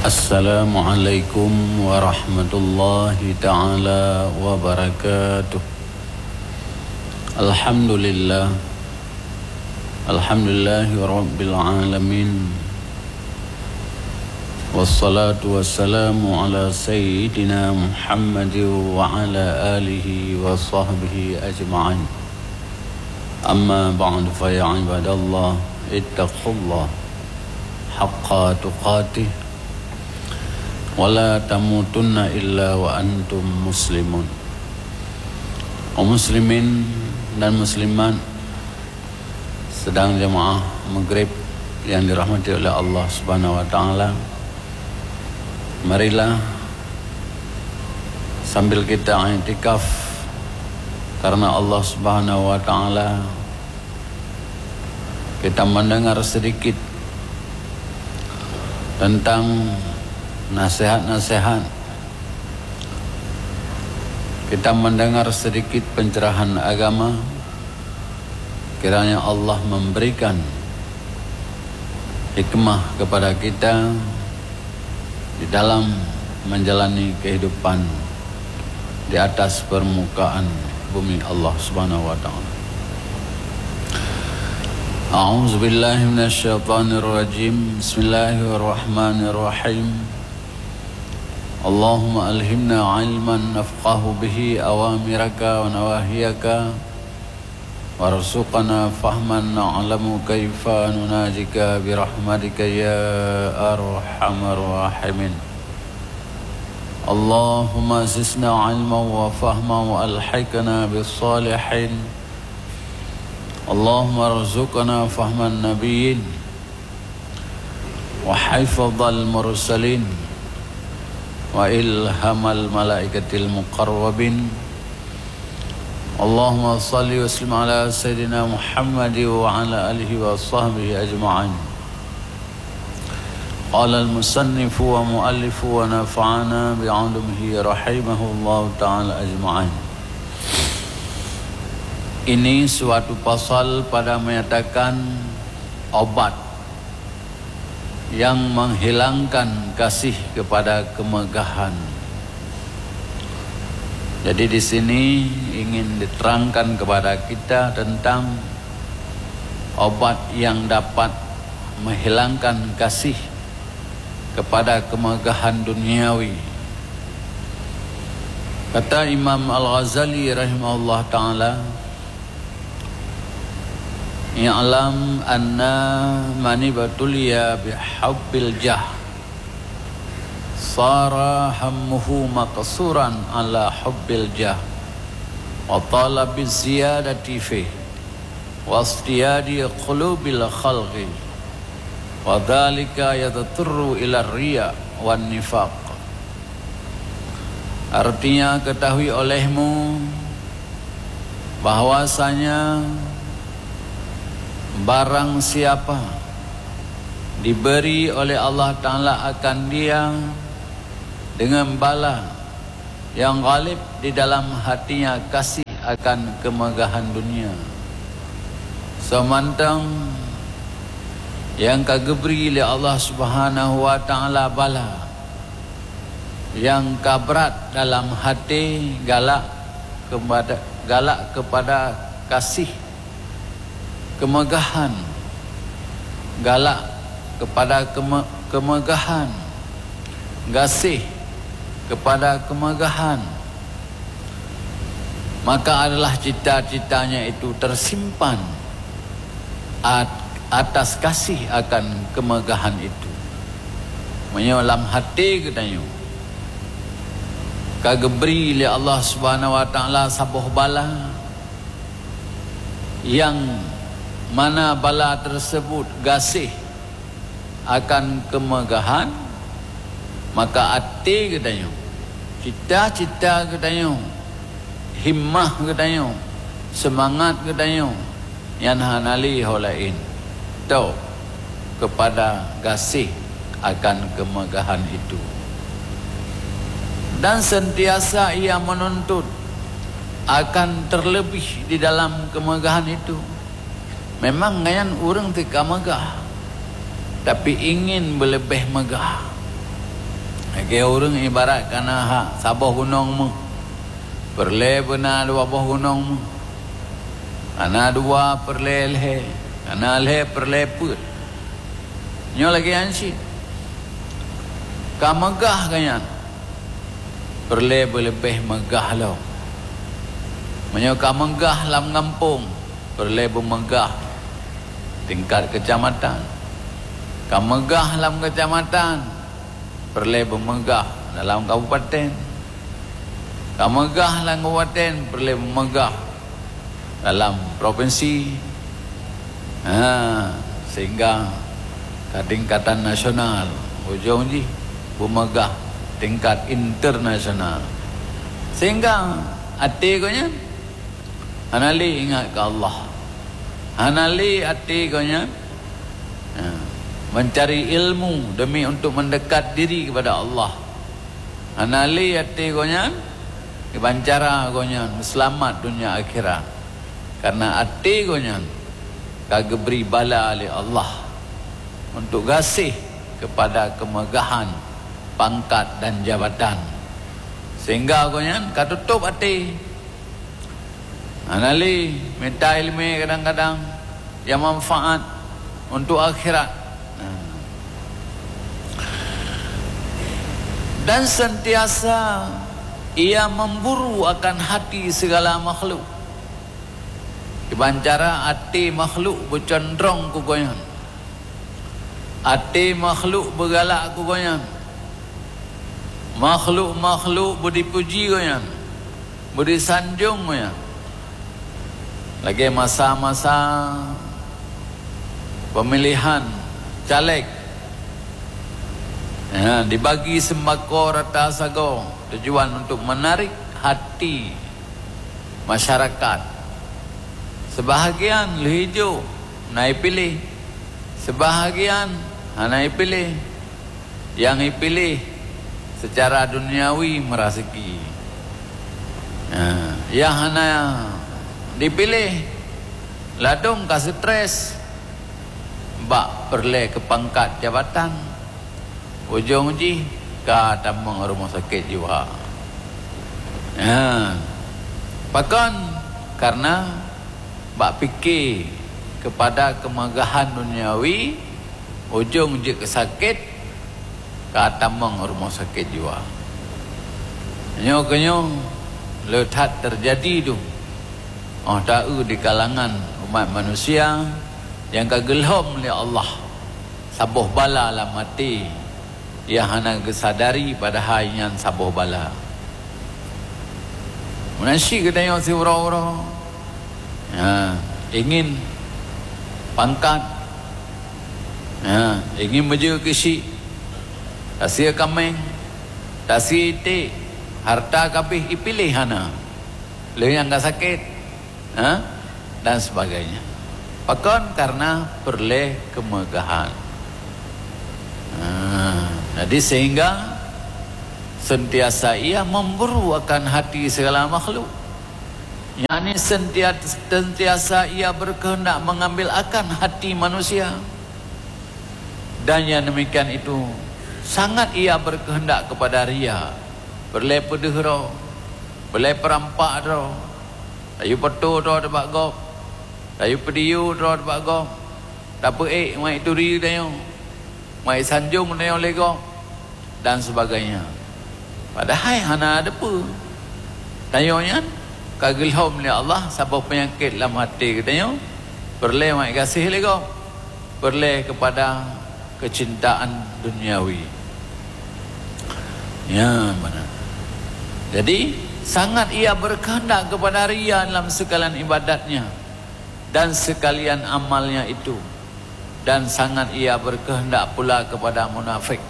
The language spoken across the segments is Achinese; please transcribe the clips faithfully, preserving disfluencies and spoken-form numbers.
Assalamualaikum warahmatullahi taala wabarakatuh. Alhamdulillah. Alhamdulillahi rabbil alamin. Wassalatu wassalamu ala sayyidina Muhammad wa ala alihi wa sahbihi ajma'in. Amma ba'du, fa ya ibadallah, ittaqullah haqqa tuqatih wa la tamutunna illa wa antum muslimun. Kaum muslimin dan muslimat, sedang jemaah maghrib yang dirahmati oleh Allah Subhanahu wa taala, marilah sambil kita iktikaf karena Allah Subhanahu wa taala, kita mendengar sedikit tentang nasihat-nasihat, kita mendengar sedikit pencerahan agama. Kiranya Allah memberikan hikmah kepada kita di dalam menjalani kehidupan di atas permukaan bumi Allah Subhanahu wa taala. A'udzubillahi minasyaitonirrajim. Bismillahirrahmanirrahim. Allahumma alhimna ilman nafqahu bihi awamiraka wa nawahiyaka, warzuqna fahman na'lamu kaifa nunajika birahmatika ya arhamar rahimin. Allahumma zidna ilman wa fahman wa alhiqna bis salihin. Allahumma rzuqna fahman nabiyyin wa hifdzal mursalin wa ilhamal malaikatil muqarrabin. Allahumma shalli wa sallim ala sayyidina Muhammad wa ala alihi wa sahbihi ajma'in. Qala al-musannifu wa muallifu wa nafa'ana bi 'ulumihi rahimahullahu ta'ala ajma'in. Ini suatu pasal pada menyatakan obat yang menghilangkan kasih kepada kemegahan. Jadi di sini ingin diterangkan kepada kita tentang obat yang dapat menghilangkan kasih kepada kemegahan duniawi. Kata Imam Al-Ghazali rahimahullah ta'ala, "I'lam anna man ibtuliya bihubbil jah, sara hammuhu maqsuran ala hubbil jah, wa talabi ziyadati fih, wa istiyadi qulubil khalqi, wa dzalika yadturru ila riya wan nifaq." Artinya, ketahui olehmu bahwasanya barang siapa diberi oleh Allah Ta'ala akan dia dengan bala yang ghalib di dalam hatinya kasih akan kemegahan dunia, seumantong nyang ka geubri lé Allah Subhanahu wa Ta'ala bala nyang ka brat dalam até galak kepada, galak kepada kasih kemegahan, galak kepada keme-, kemegahan, gaséh kepada kemegahan, maka adalah cita-citanya itu tersimpan at-, atas kasih akan kemegahan itu. Meunyoe lam até geutanyoe ka geubri lé Allah Subhanahu wa Ta'ala saboh bala, nyang mana bala tersebut gaséh akan kemegahan, maka até geutanyoe, cita-cita geutanyoe, himmah geutanyoe, seumangat geutanyoe, nyan hana lé ho laén, tok keupada gaséh akan keumeugahan itu. Dan seuntiasa ia meununtut akan teuleubeh di dalam keumeugahan itu. Memang nyan ureuëng teuka meugah, tapi ingin beuleubeh meugah. Lagée ureuëng ibarat kana ha saboh gunong meuh, peureulée beuna dua boh gunong meuh. Kana dua peureulée lhée, kana lhée peureulée peuet. Nyoe lagée nyan cit. Ka meugah geuh nyan, peureulée beuleubeh meugah lom. Meunyoe ka meugah lam gampông, peureulée beumeugah tingkat keucamatan. Ka meugah lam keucamatan, peureulée beumeugah dalam kabupaten. Ka meugah lam kabupaten, peureulée beumeugah dalam propinsi. Ha, sehingga ka tingkatan nasional, ujong jih beumeugah tingkat internasional. Sehingga até geuh nyan hana lé ingat keu Allah. Hana lé até geuh nyan, ha, mencari ilmu demi untuk mendekat diri kepada Allah. Hana lé até geuh nyan, kiban cara geuh nyan seulamat donya akhirat. Karena até geuh nyan ka geubri bala lé Allah untuk gaséh kepada kemegahan pangkat dan jabatan. Sehingga geuh nyan ka tutôp até. Hana lé mita iéleumé kadang-kadang nyang manfaat untuk akhirat. Dan sentiasa ia memburu akan hati segala makhluk. Kiban cara até makhluk beucondrong keu gobnyan. Até makhluk beugalak keu gobnyan. Makhluk-makhluk beudipuji gobnyan, beudisanjong gobnyan. Lagée masa-masa pemilihan caleg, ya, dibagi sembako rata sagoe tujuan untuk menarik hati masyarakat. Sebahagian lheuh jok na ipiléh, sebahagian hana ipiléh. Nyang ipiléh secara duniawi meuraseuki. Ha, nyang hana dipiléh ladôm ka stres bak peureulée keu pangkat jabatan. Ujong jih ka tamong rumoh sakét jiwa. Ha. Pakon? Karena bak pike keupada keumeugahan duniawi, ujong jeuet keu sakét, ka tamong rumoh sakét jiwa. Nyoe keunyoe le that teujadi dum, óh taeu di kalangan umat manusia nyang ka geulhom lé Allah saboh bala lam até, nyang hana geusadari padahai nyan saboh bala. Meunan cit geutanyoe siuroe-uroe, ha, ingin pangkat, ha, ingin meujeuet keuchik, tasie kaméng, tasie iték, hareuta kabéh ipiléh hana, lheueh nyan ka sakét, ha, dan sebagainya. Pakon? Karena peureulée keumeugahan. Ha, jadi sehingga sentiasa ia memburu akan hati segala makhluk. Yakni sentia-, sentiasa ia berkehendak mengambil akan hati manusia. Dan yang demikian itu sangat ia berkehendak kepada ria. Peureulée peudeuh droe, peureulée peurampak droe, tayue peutoe droe bak gob, tayue peudiyue droe bak gob, tapeuék meuék turi tanyoe, meuék sanjong tanyoe lé gob, dan sebagainya. Padahai hana teupeue. Tanyoe nyan ka geulhom lé Allah saboh peunyakét lam até geutanyoe, peureulée meuék gaséh lé gob, peureulée keupada keucintaan duniawi. Ya, mana? Jadi, sangat ia berkehendak kepada ria dalam sekalian ibadatnya dan sekalian amalnya itu, dan sangat ia berkehendak pula kepada munafik.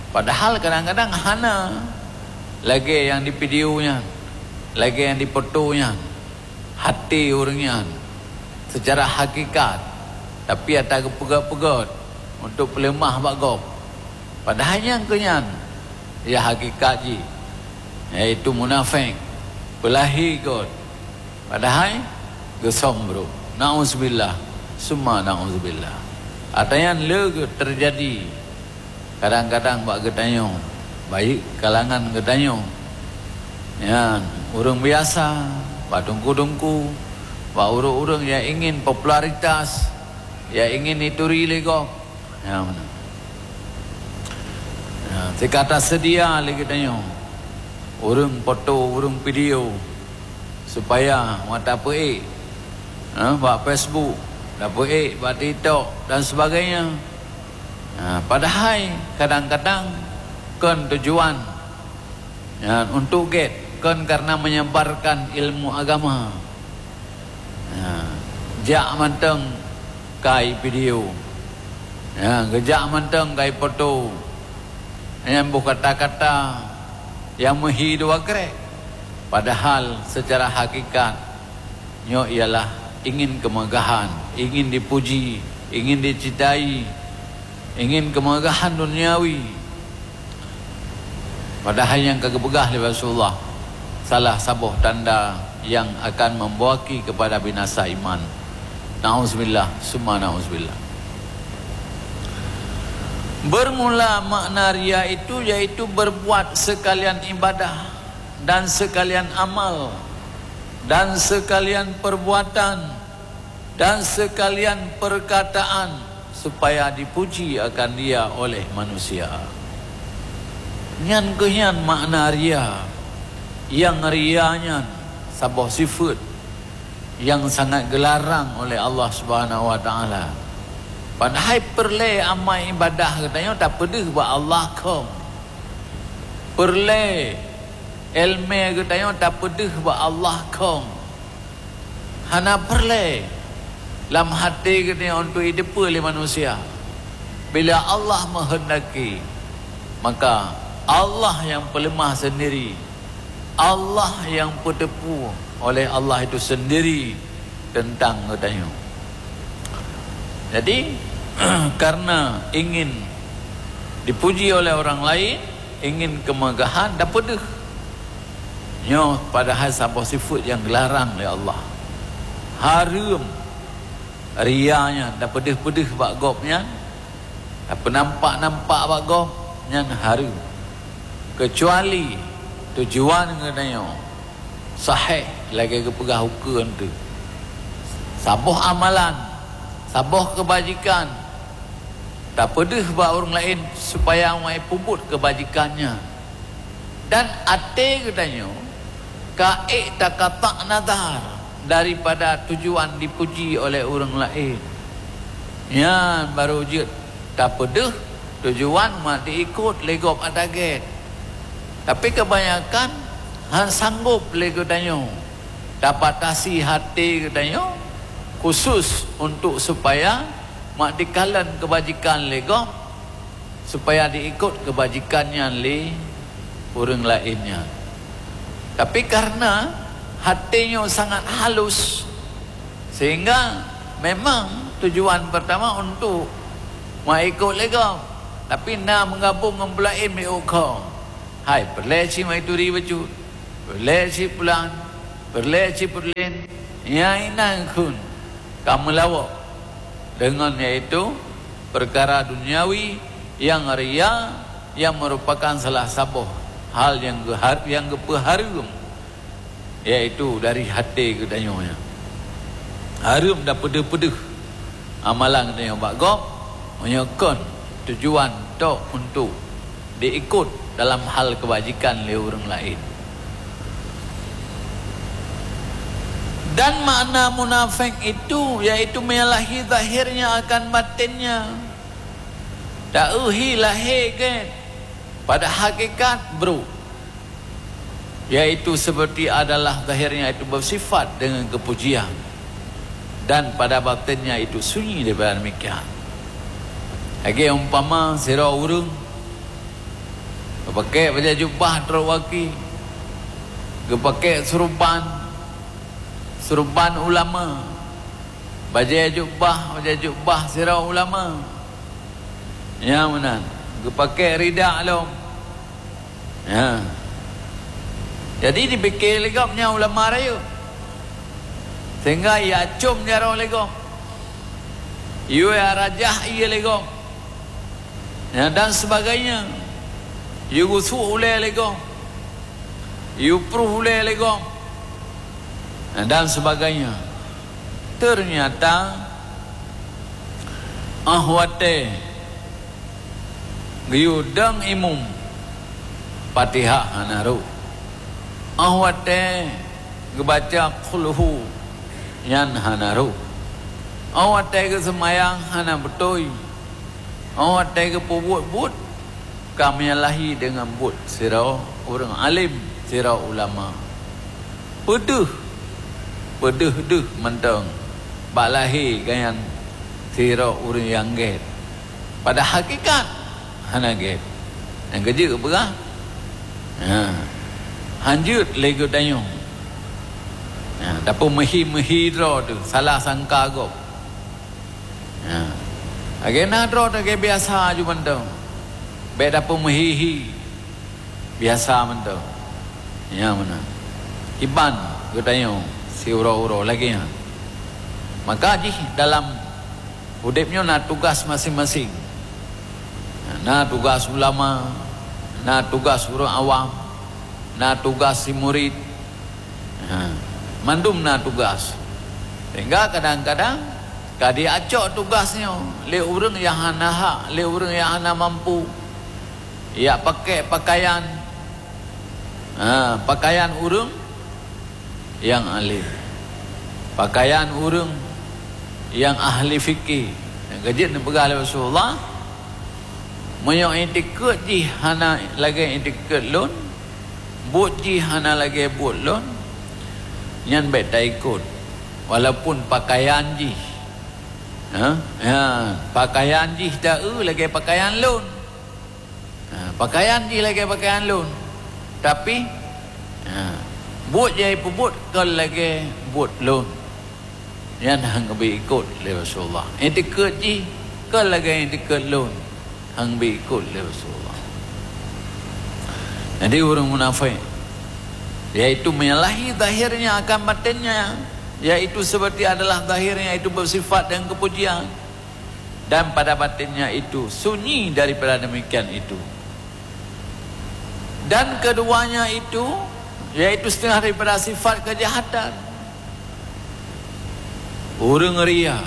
Padahal kadang-kadang hana, lagée nyang di video nyan, lagée nyang di foto nyan, hati ureuëng nyan secara hakikat, tapi ata geupeugét-peugét untuk peuleumah bak gob. Padahai nyang keu nyan, ya hakikat jih, yaitu munafék, peulahi göt. Padahai geusom brôk. Nauzubillah, summa nauzubillah. Ata nyan le geuteujadi kadang-kadang bak geutanyoe. Baik kalangan geutanyoe, nyan ureuëng biasa, bak teungku-teungku, bak ureuëng-ureuëng nyang ingin popularitas, nyang ingin dituri lé gob. Nyan meunan. Nyan, sika taseudia lé geutanyoe ureuëng foto, ureuëng video, supaya mata peuék, ha, bak Facebook, tapeuék bak TikTok dan sebagainya. Ha, padahai kadang-kadang kon tujuan, ya, untuk gét, kon karena menyebarkan ilmu agama. Ha, jak mantong kai video. Ya, geujak mantong kai foto. Nyang boh kata-kata nyang meuhi dua krek. Padahal secara hakikat, nyoe ialah ingin kemegahan, ingin dipuji, ingin dicintai, ingin kemegahan duniawi. Padahai nyang ka geupeugah lé Rasulullah, salah saboh tanda nyang akan membawaki kepada binasa iman. Nauzubillah, summa nauzubillah. Bermula makna ria itu yaitu berbuat sekalian ibadah dan sekalian amal dan sekalian perbuatan dan sekalian perkataan supaya dipuji akan dia oleh manusia. Nyan keuh nyan makna ria. Nyang ria nyan saboh sifeuet nyang sangat geularang oleh Allah Subhanahu wa Taala. Padahai peureulée amai ibadah geutanyoe tapeudeuh bak Allah kong. Peureulée iéleumé geutanyoe tapeudeuh bak Allah kong. Hana peureulée lam até geutanyoe untuk jiteupeue lé manusia. Bila Allah meuheundaki, maka Allah nyang peuleumah seundiri, Allah nyang peuteupeue oleh Allah itu seundiri teuntang geutanyoe. Jadi, karena ingin dipuji oleh orang lain, ingin kemegahan, tapeudeuh. Nyoe padahai saboh sifeuet nyang geularang lé Allah. Hareuem ria nyan, tapeudeuh-peudeuh bak gob nyan, tapeunampak-nampak bak gob nyan hareuem. Keucuali tujuan geutanyoe sahih lagée geupeugah ukeue teuh. Saboh amalan, saboh keubajikan, tapeudeuh bak ureuëng laén supaya awai peubuet keubajikan nyan. Dan até geutanyoe ka ék takata nazar daripada tujuan dipuji oleh ureuëng laén. Nyan barô jeuet tapeudeuh tujuan mak diikot lé gob ata gét. Tapi keubanyakan han sanggob lé geutanyoe tabatasi até geutanyoe khusus untuk supaya mak dikalon keubajikan lé gob, supaya diikot keubajikan nyan lé ureuëng laén nyan. Tapi kareuna até nyoe sangat halus, sehingga memang tujuan pertama untuk mak ikot lé gob, tapi na meugabong ngon peulaén miôk kho. Hai, peureulée cit mak ituri bacut, peureulée cit pulan, peureulée cit peureulén, nyang inan kheun ka meulawok deungon, yaitu peukara duniawi nyang ria, nyang meurupakan salah saboh hal nyang geuhar-, nyang geupeuhareuem, yaitu dari até geutanyoe nyan. Hareuem tapeudeuh-peudeuh amalan geutanyoe bak gob, meunyoe kon tujuan tok untuk diikot dalam hal keubajikan lé ureuëng laén. Dan makna munafék itu, yaitu menyalahi zahirnya akan batinnya. Taeuhi lahé gét, pada hakikat brok. Yaitu seperti adalah zahirnya itu bersifat dengan kepujian, dan pada batinnya itu sunyi daripada demikian. Lagée umpama sidroe ureuëng geupaké bajée jubah trok waki, geupaké seureuban, seureuban ulama, bajée jubah, bajée jubah sidroe ulama. Nyang meunan, geupaké rida lom. Ya. Jadi dipike lé gob nyan ulama rayeuk. Sehingga ya com jaroe lé gob. Yue rajah ié lé gob. Ya, dan sebagainya. Yue gusuk ulée lé gob, yue pruh ulée lé gob, dan sebagainya. Ternyata, óh watée geuyue dong imum, Fatihah hana rhot. Óh watée geubaca Qul Hu, nyan hana rhot. Óh watée geuseumayang hana beutôi. Óh watée geupeubuet buet ka menyalahi deungon buet sidroe ureuëng alim, sidroe ulama. Peudeuh, peudeuh deuh mantong bak lahé gobnyan sidroe ureuëng nyang gét. Pada hakikat hana gét. Nyang keujeuet peugah, ha, hanjeuet lé geutanyoe. Ha, tapeumeuhi-meuhi droe teuh, salah sangka gob. Ha. Lagée na droe lagée biasa ju mantong. Bék tapeumeuhi-hi. Biasa mantong. Nyang meunan. Kiban geutanyoe siuroe-uroe lagée nyan. Maka jih dalam udeb nyoe na tugas maséng-maséng. Na tugas ulama, na tugas ureuëng awam, na tugas si murit. Ha, mandum na tugas. Sehingga kadang-kadang ka diacok tugas nyoe lé ureuëng nyang hana hak, lé ureuëng nyang hana mampu. Yak pakai pakaian, ha, pakaian ureuëng nyang alim, pakaian ureuëng nyang ahli fikih. Nyang keujeuet neupeugah lé Rasulullah, meunyoe itikeuet jih hana lagée itikeuet lôn, buet jih hana lagée buet lôn, nyan bék taikot, walaupun pakaian jih, ha, ha, pakaian jih ta-eu lagée pakaian lôn. Ha, pakaian jih lagée pakaian lôn, tapi, ha, buet nyang ipeubuet kon lagée buet lôn. Nyan han geubri ikot lé Rasulullah. Itikeuet jih kon lagée itikeuet lôn, han geubri ikot lé Rasulullah. Jadi ureuëng munafék, yaitu menyalahi zahirnya akan batinnya, yaitu seperti adalah zahirnya itu bersifat dengan kepujian, dan pada batinnya itu sunyi daripada demikian itu. Dan keduanya itu, yaitu setengah daripada sifat kejahatan. Ureuëng ria,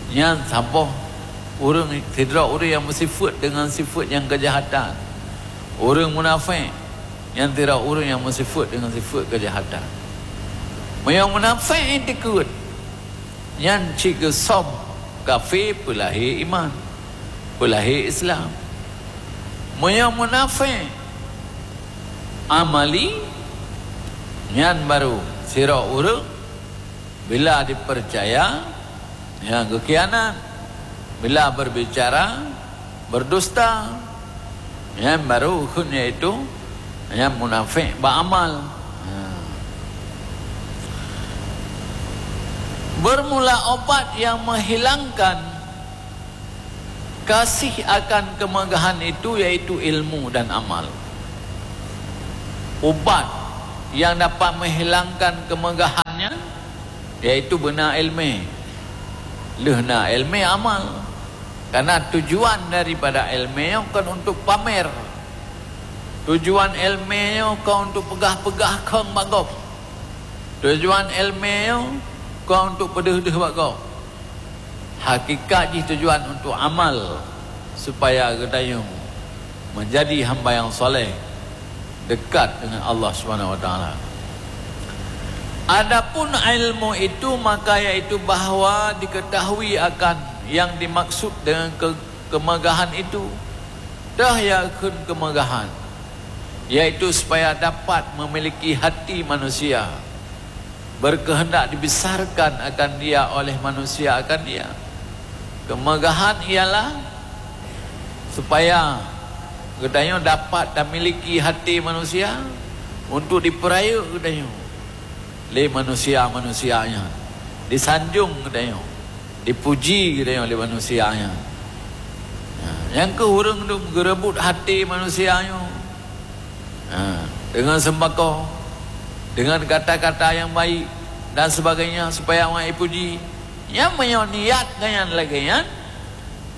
nyan saboh ureuëng, sidroe ureuëng nyang meusifeuet deungon sifeuet nyang kejahatan. Ureuëng munafék, nyan sidroe ureuëng nyang meusifeuet deungon sifeuet kejahatan. Meunyoe munafék itikeuet, nyan cit geusöm kafé peulahé iman, peulahé Islam. Meunyoe munafék amali, nyan barô sidroe ureuëng bila dipercaya, nyan geukhianat, bila berbicara, berdusta. Nyan barô kheun, yaitu nyan munafék bak amal. Ha. Bermula obat yang menghilangkan kasih akan kemegahan itu yaitu ilmu dan amal. Ubat yang dapat menghilangkan kemegahannya yaitu beuna ilmu. Lheuh na ilmu, amal. Karena tujuan daripada ilmu nyoe kon untuk pamer. Tujuan ilmu nyoe kon untuk peugah-peugah khong bak gob. Tujuan ilmu nyoe kon untuk peudeuh-deuh bak gob. Hakikat jih tujuan untuk amal, supaya geutanyoe menjadi hamba yang saleh, dekat dengan Allah Subhanahu Wa Taala. Adapun ilmu itu, maka yaitu bahwa diketahui akan yang dimaksud dengan ke-, kemegahan itu. Toh nyang kheun kemegahan, yaitu supaya dapat memiliki hati manusia, berkehendak dibesarkan akan dia oleh manusia akan dia. Kemegahan ialah supaya geutanyoe dapat dan miliki hati manusia untuk dipeurayeuk geutanyoe lé manusia-manusia nyan, disanjong geutanyoe, dipuji geutanyoe lé manusia nyan. Ha, nyang keuh ureuëng dum geureubot hati manusia nyoe. Ha, dengan sembako, dengan kata-kata yang baik dan sebagainya, supaya awak ipuji. Nyang meunyoe niat geuhnyan lagée nyan,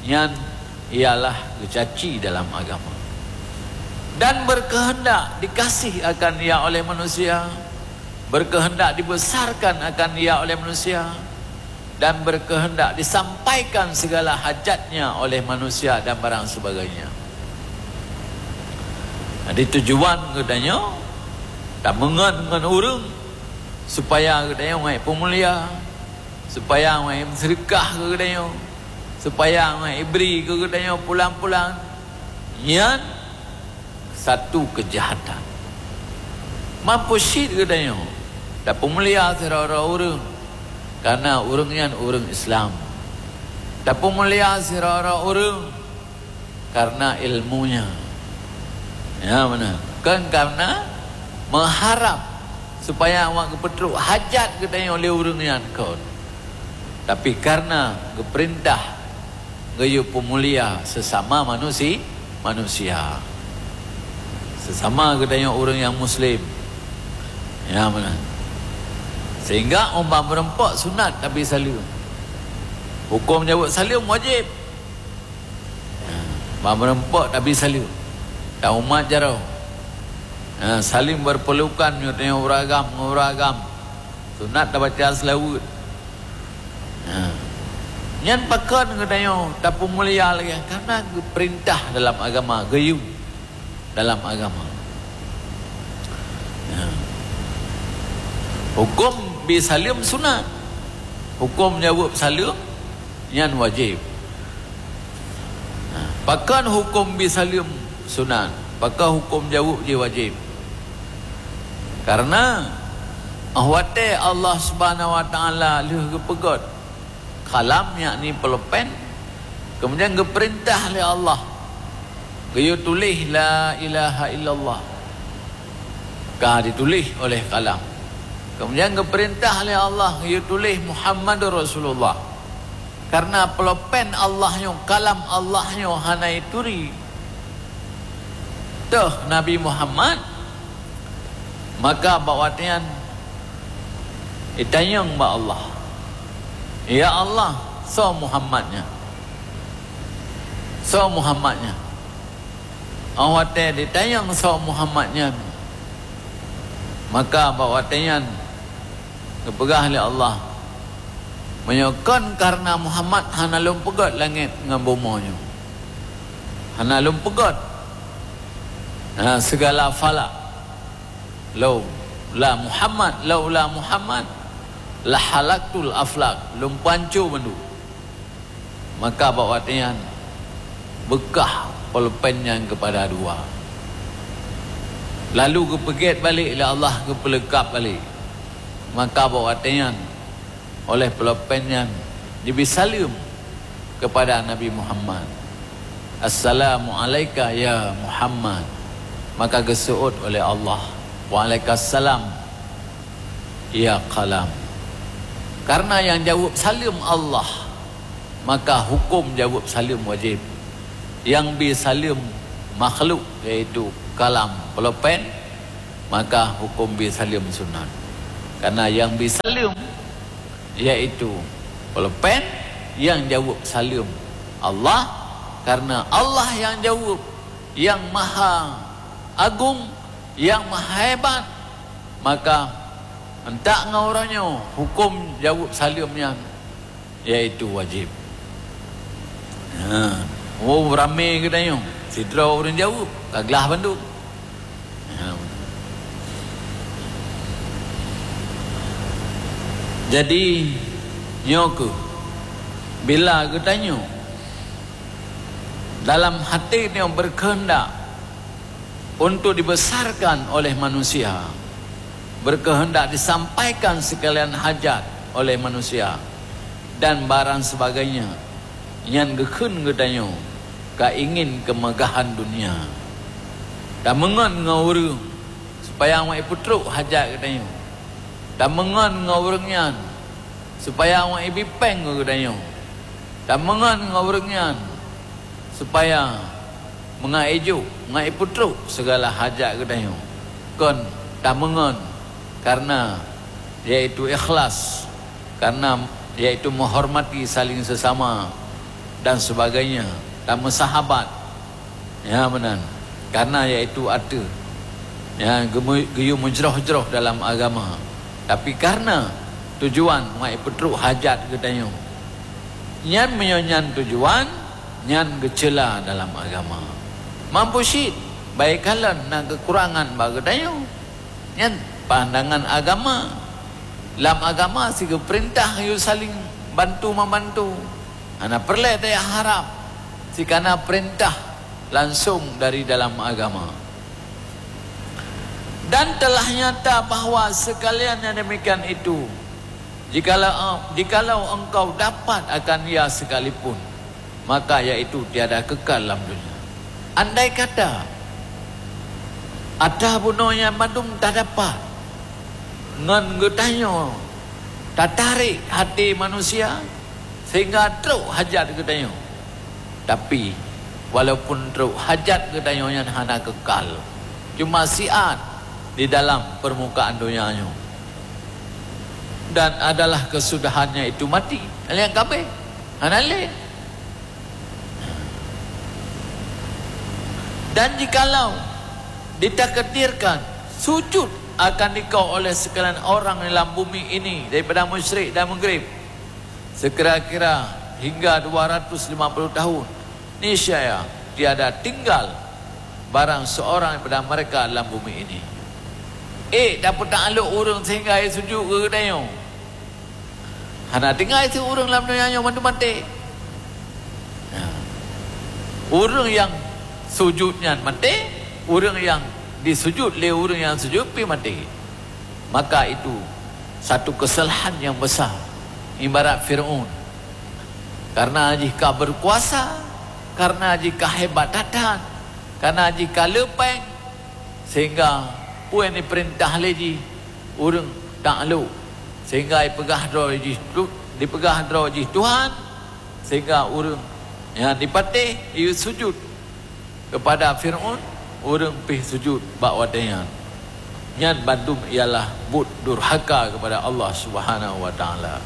nyan ialah geucaci dalam agama. Dan berkehendak dikasih akan ia oleh manusia, berkehendak dibesarkan akan ia oleh manusia, dan berkehendak disampaikan segala hajatnya oleh manusia dan barang sebagainya. Jadi tujuan geutanyoe tameungon ngon ureuëng supaya geutanyoe ngon peumulia, supaya ngon seudeukah keu geutanyoe, supaya ngon bri keu geutanyoe pulang-pulang. Nyan satu keujahatan. Mampu cit geutanyoe tapeumulia sidroe-droe ureuëng karena ureuëng nyan ureuëng Islam. Tapeumulia sidroe-droe ureuëng karena ilmunya. Ya, beuna. Kon karena meuharab supaya awak geupeutrok hajat geutanyoe lé ureuëng nyan kon. Tapi karena geupeurintah geuyue peumulia sesama manusi-, manusia. Sesama geutanyoe ureuëng nyang muslim. Ya, beuna. Sehingga óh ban meureumpok sunat tabi saleuem. Huköm jaweueb saleuem wajéb. Ha, ban meureumpok tabi saleuem. Taumat jaroe. Ha, saling berpelukan meunyoe tanyoe ureuëng agam ngon ureuëng agam. Sunat tabaca seulaweuet. Ha. Nyan pakon geutanyoe tapeumulia lagée nyan? Karena geupeurintah dalam agama, geuyue dalam agama. Ha. Huköm bi saleuem sunat. Huköm jaweueb saleuem nyan wajéb. Nah, pakon huköm bi saleuem sunat, pakon huköm jaweueb jih wajéb? Karena óh watée Allah Subhanahu wa Taala lheueh geupeugét kalam, yakni pulpen, kemudian geupeurintah lé Allah geuyue tuléh la ilaha illallah. Ka dituléh oleh kalam. Kemudian geupeurintah lé Allah geuyue tuléh Muhammadur Rasulullah. Karena pulpen Allah nyoe, kalam Allah nyoe hana jituri teuh Nabi Muhammad, maka bak watée nyan jitanyong bak Allah, "Ya Allah, soe Muhammad nyan? Soe Muhammad nyan?" Óh watée jitanyong soe Muhammad nyan, maka bak watée nyan geupeugah lé Allah, "Meunyoe kon kareuna Muhammad, hana lôn peugét langét ngon bumoe nyoe. Hana lôn peugét, ha, sigala falak. Laula Muhammad, laula Muhammad, lahalaktul aflak, lôn peuhanco bandum." Maka bak watée nyan beukah pulpen nyan keupada dua. Lalu geupeugét balek lé Allah, geupeuleukab balek. Maka bak watée nyan, óh lheueh pulpen nyan, jibi saleuem keupada Nabi Muhammad, "Assalamu alaika ya Muhammad." Maka geuseuôt oleh Allah, "Waalaikumsalam ya kalam." Kareuna nyang jaweueb saleuem Allah, maka huköm jaweueb saleuem wajéb. Nyang bi saleuem makhluk, yaitu kalam, pulpen, maka huköm bi saleuem sunat. Kareuna nyang bi saleuem, yaitu pulpen, nyang jaweueb saleuem Allah, kareuna Allah nyang jaweueb, nyang maha agong, nyang maha hebat, maka antak ngon uroe nyoe huköm jaweueb saleuem nyan, yaitu wajéb. Ha, oh, ramé geutanyoe, sidroe ureuëng jaweueb, ka glah bandum. Ha. Jadi, nyoe keuh, bila geutanyoe dalam hati nyoe berkehendak untuk dibesarkan oleh manusia, berkehendak disampaikan sekalian hajat oleh manusia, dan barang sebagainya, nyan geukheun geutanyoe ka ingin kemegahan dunia. Tameungon ngon ureuëng supaya awak jipeutrok hajat geutanyoe. Tameungon ngon ureuëng nyan supaya awak jibi péng keu geutanyoe. Tameungon ngon ureuëng nyan supaya meungai jok, meungai peutrok segala hajat geutanyoe. Kon tameungon kareuna, yaitu ikhlas, kareuna, yaitu menghormati saling sesama dan sebagainya, tameusahabat. Ya, meunan. Karena yaitu ateueh, ya, geumu-, geuyue meujroh-jroh dalam agama. Tapi karena tujuan meu'ipeutrok hajat geutanyoe, nyan meunyoe nyan tujuan, nyan geuceula dalam agama. Mampôh cit, baik kalon na keukurangan bak geutanyoe. Nyan pandangan agama. Lam agama sigeupeurintah yue saling bantu-membantu. Hana peureulée tajak harab, sikana peurintah langsong dari dalam agama. Dan telah nyata bahwa sekalian yang demikian itu, jikalau, jikalau engkau dapat akan ia sekalipun, maka yaitu tiada kekal lam dunia. Andai kata ata bunoe nyan mandum tadapat ngon geutanyoe, tatarék hati manusia sehingga trok hajat geutanyoe. Tapi, walaupun trok hajat geutanyoe nyan hana kekal, cuma siat di dalam permukaan donya nyoe. Dan adalah kesudahannya itu mati. Nyang kabeh hana lé. Dan jikalau ditakdirkan sujud akan dikau oleh sekalian orang di lam bumi ini daripada musyrik dan mukrim, sekira-kira hingga dua ratus lima puluh tahun, niscaya tiada tinggal barang seorang daripada mereka dalam bumi ini. Eh, dapeutak alok ureuëng sehingga ia sujud keu geutanyoe. Hana tinggai si ureuëng lam donya nyoe mandum maté. Nah, ureuëng nyang sujud nyan maté, ureuëng nyang disujud lé ureuëng nyang sujud pih maté. Maka itu satu kesalahan yang besar. Ibarat Firaun, karena jih ka berkuasa, karena jih ka hebat that-that, karena jih ka leupeng, sehingga peue nyang dipeurintah lé jih ureuëng taklok, sehingga dipeugah droe jih tu, dipeugah droe jih Tuhan, sehingga ureuëng nyang dipatéh jiyue sujud kepada Firaun, ureuëng pih sujud bak watée nyan. Nyan bandum ialah buet durhaka kepada Allah Subhanahu wa Taala.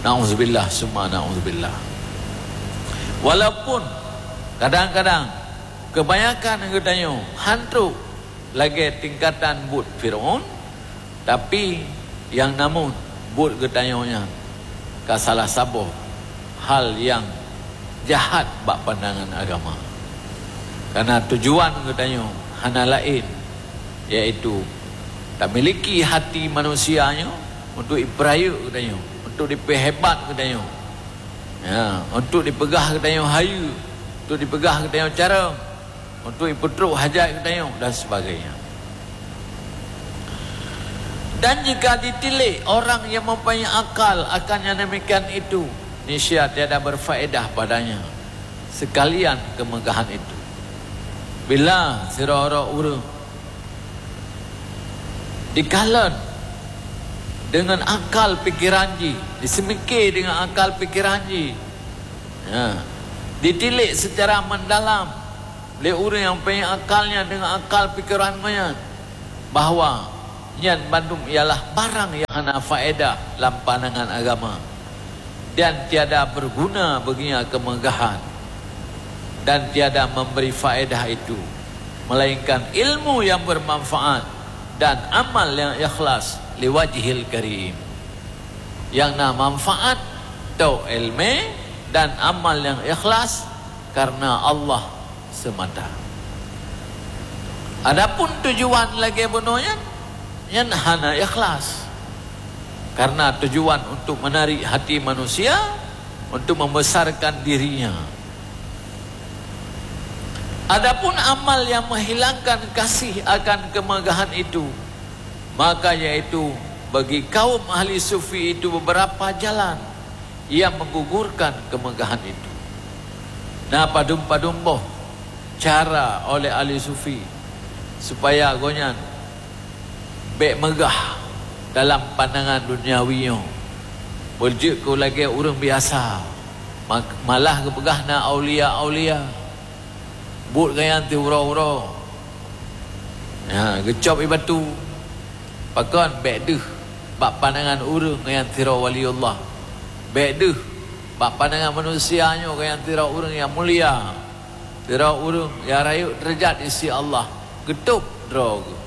Nauzubillah summa nauzubillah. Walaupun kadang-kadang keubanyakan geutanyoe han trok lagée tingkatan buet Firaun, tapi nyang namun buet geutanyoe nyan ka salah saboh hal nyang jahat bak pandangan agama. Karena tujuan geutanyoe hana laén, yaitu tamiliki hati manusia nyoe untuk ipeurayeuk geutanyoe, untuk dipeuhebat geutanyoe, ya, untuk dipeugah geutanyoe hayeue, untuk dipeugah geutanyoe carông, untuk ipeutrok hajat geutanyoe dan sebagainya. Dan jika ditilék orang yang mempunyai akal akan yang demikian itu, niscaya tiada berfaedah padanya sekalian kemegahan itu. Bila sidroe-droe ureuëng dikalon dengan akal pikiran jih, diseumike dengan akal pikiran jih, ya, ditilék secara mendalam lé ureuëng nyang punya akal nyan dengan akal pikiran geuh nyan, bahwa nyan bandum ialah barang nyang hana faedah lam pandangan agama, dan tiada berguna baginya kemegahan, dan tiada memberi faedah itu, melainkan ilmu yang bermanfaat dan amal yang ikhlas liwajhil karim. Nyang na manfaat tôk iéleumé dan amal nyang ikhlas karena Allah semata. Adapun tujuan lagée bunoe nyan, nyan hana ikhlas. Karena tujuan untuk menarik hati manusia, untuk membesarkan dirinya. Adapun amal yang menghilangkan kasih akan kemegahan itu, maka yaitu bagi kaum ahli sufi itu beberapa jalan yang menggugurkan kemegahan itu. Na padum-padum boh cara oleh ahli sufi supaya gobnyan bék meugah dalam pandangan duniawi nyoe, beujeuet keu lagée ureuëng biasa, ma-, malah geupeugah na aulia-aulia. Buet gobnyan ti uroe-uroe, ya, geucop ie batu. Pakon bék deuh bak pandangan ureuëng gobnyan sidroe waliullah. Bék deuh bak pandangan manusia nyoe gobnyan sidroe ureuëng nyang mulia. Sidroe ureuëng nyang rayeuk deurajat di sisi Allah, geutôb droe geuh,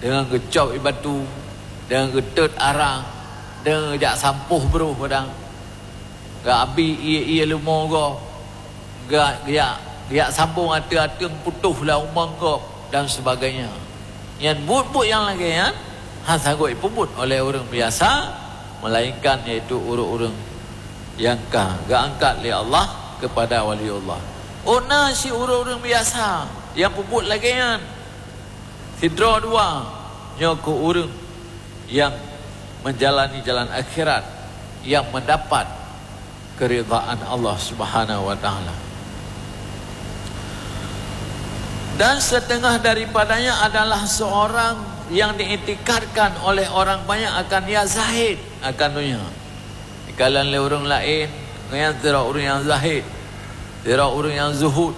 deungon geucôb ié batu, deungon geutot arang, deungon geujak sampoh broh padang, geuabi ié-ié leumo gob, geu-, geujak, geujak sambong ateueng-ateueng putôh lam umong gob, dan sebagainya. Nyan buet-buet nyang lagée nyan hana sanggob jipeubuet oleh ureuëng biasa, melainkan yaitu ureuëng-ureuëng nyang ka geuangkat lé Allah keupada waliullah. Oh, na cit ureuëng-ureuëng biasa nyang peubuet lagée nyan. Sidroe dua, nyoe keuh ureuëng nyang meujalani jalan akhirat, nyang meudapat keuridhaan Allah Subhanahu wa Taala. Dan setengah daripadanya adalah seorang yang diiktikadkan oleh orang banyak akan ia zahid akan dunia. Dikalon lé ureuëng laén, nyan sidroe ureuëng nyang zahid, sidroe ureuëng nyang zuhud,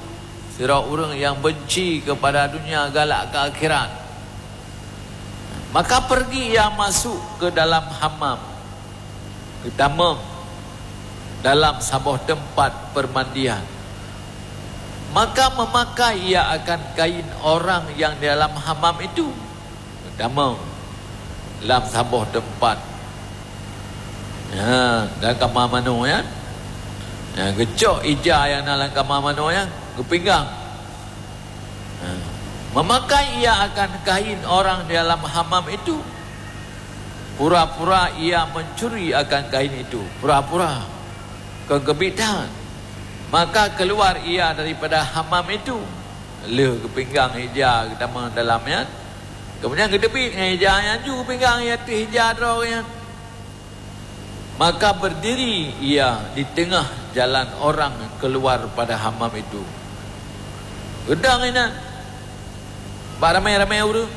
sidroe ureuëng nyang benci keupada dunia galak keu akhirat. Maka pergi ia masuk ke dalam hammam, geutamong dalam saboh teumpat peumandian. Maka meumakai ia akan kain orang nyang di dalam hammam itu, geutamong lam saboh teumpat. Ha, lam kama manoe nyan. Ha, geucok ija nyang na lam kama manoe nyan, geupinggang. Ha, meumakai ia akan kain orang di dalam hammam itu. Pura-pura ia mencuri akan kain itu. Pura-pura. Kon keubiet that. Maka keluar ia daripada hammam itu. Lheueh geupinggang ija geutamong dalam nyan. Keumudian geuteubiet ngon ija nyan ju geupinggang ateueh ija droe nyan. Maka berdiri ia di tengah jalan orang keluar pada hammam itu. Geudong inan bak ramé-ramé ureuëng.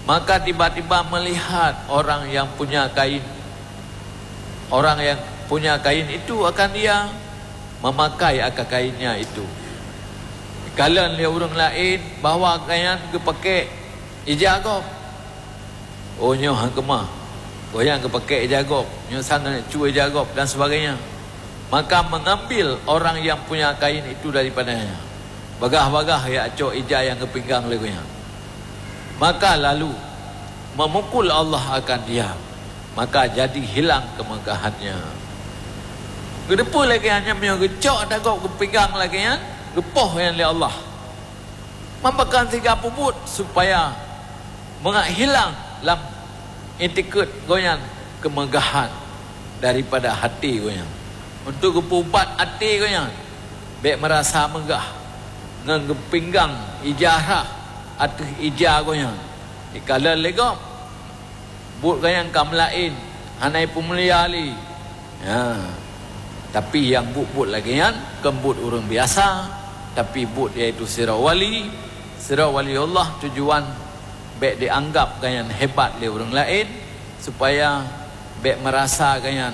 Maka tiba-tiba melihat orang yang punya kain, orang yang punya kain itu akan dia memakai akan kainnya itu. Kalon lé ureuëng laén bahwa kain geupakék ija gob. Oh, nyoe han keumah. Goyang geupakék ija gob, nyoe sang geuneuk cue ija gob dan sebagainya. Maka mengambil orang yang punya kain itu daripadanya. Bagah-bagah ia cok ija nyang geupinggang lé gobnyan. Maka lalu memukul Allah akan dia. Maka jadi hilang kemegahannya. Geuteupeu lagée nyan, meunyoe geucok ija gob geupinggang lagée nyan, geupoh nyan lé Allah. Meupakan siga peubuet supaya mangat hilang lam itikeuet gobnyan keumeugahan daripada até gobnyan. Untuk geupeuubat até gobnyan, bék meurasa meugah ngon geupinggang ija rhah ateueh ija gobnyan. Dikalon lé gob, buet gobnyan ka meulaén, hana jipeumulia lé. Ya. Tapi nyang buet-buet lagée nyan kon buet ureuëng biasa, tapi buet yaitu sidroe wali, sidroe waliullah. Tujuan bék dianggap gobnyan hebat lé ureuëng laén, supaya bék meurasa gobnyan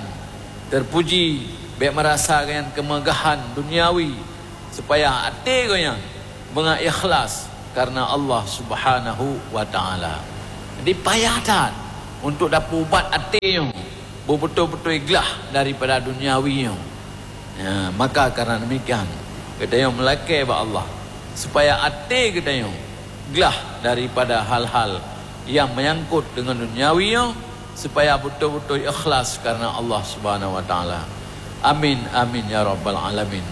teupuji, bék meurasa gobnyan keumeugahan duniawi, supaya até gobnyan beuna ikhlas karena Allah Subhanahu wa Taala. Jadi payah that untuk tapeuubat até nyoe beubeutôi-beutôi glah daripada duniawi nyoe. Ya, maka karena demikian, geutanyoe meulakée bak Allah supaya até geutanyoe glah daripada hal-hal nyang menyangkut dengan duniawi nyoe, supaya beutôi-beutôi ikhlas karena Allah Subhanahu wa Taala. Amin, amin, ya rabbal alamin.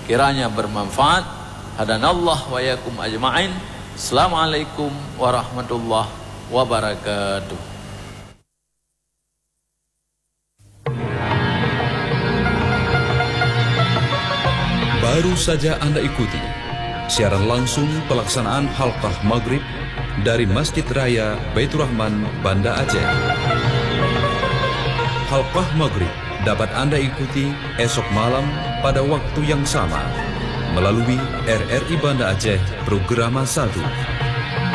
Kiranya bermanfaat. Hadanallah wa iyyakum ajma'in. Assalamualaikum warahmatullahi wabarakatuh. Baru saja Anda ikuti siaran langsung pelaksanaan Halqah Maghrib dari Masjid Raya Baiturrahman, Banda Aceh. Halqah Maghrib dapat Anda ikuti esok malam pada waktu yang sama melalui R R I Banda Aceh Programa satu.